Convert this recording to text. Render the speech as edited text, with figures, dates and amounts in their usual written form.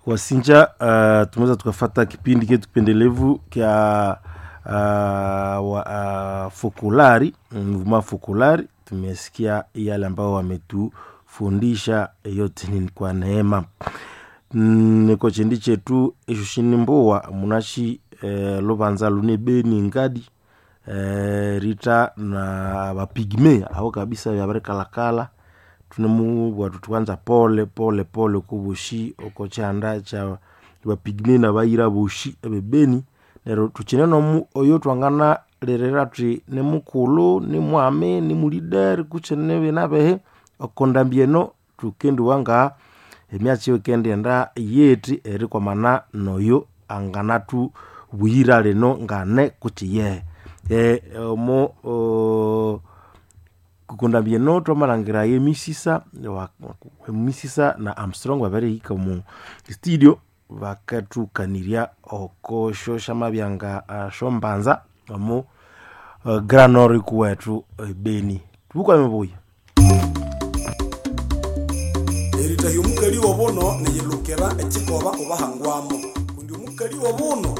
Wasinja, tumeweza tukafata kipindi ketu kipendelevu kya Fokolari, mvuma Fokolari. Tumesikia yale ambao wametufundisha, yote ni kwa neema. Niko chindi chetu esho shinimbowa munashi lubanza lune beni ngadi rita na bapigme abo kabisa byabirikalakala tunemubwa tuthi pole pole pole kubushi oko kyanda kya bapigme nabayira boshi ebebeni. Neryo thukyine nomu oyo thwanganalirira thuthi nimukulhu, nimwami, nimulideri kutse nibinabihi oko ndambi eno thukendiwa nga emyatsi eyikendighenda yithi erikwamana noyo anganathubuyira lino ngane kutse iyehe. Omo kundambi eno thwamalhangira emisisa emisisa na Armstrong babirihika omu studio bakathukanirya oko syosyamabya nga syombanza omu Grand Nord kuwethu ebeni. Thubukwame buya. Eritahya omukali w'obuno niyilukira ekikoba obahangwamo kundi omukali w'obuno.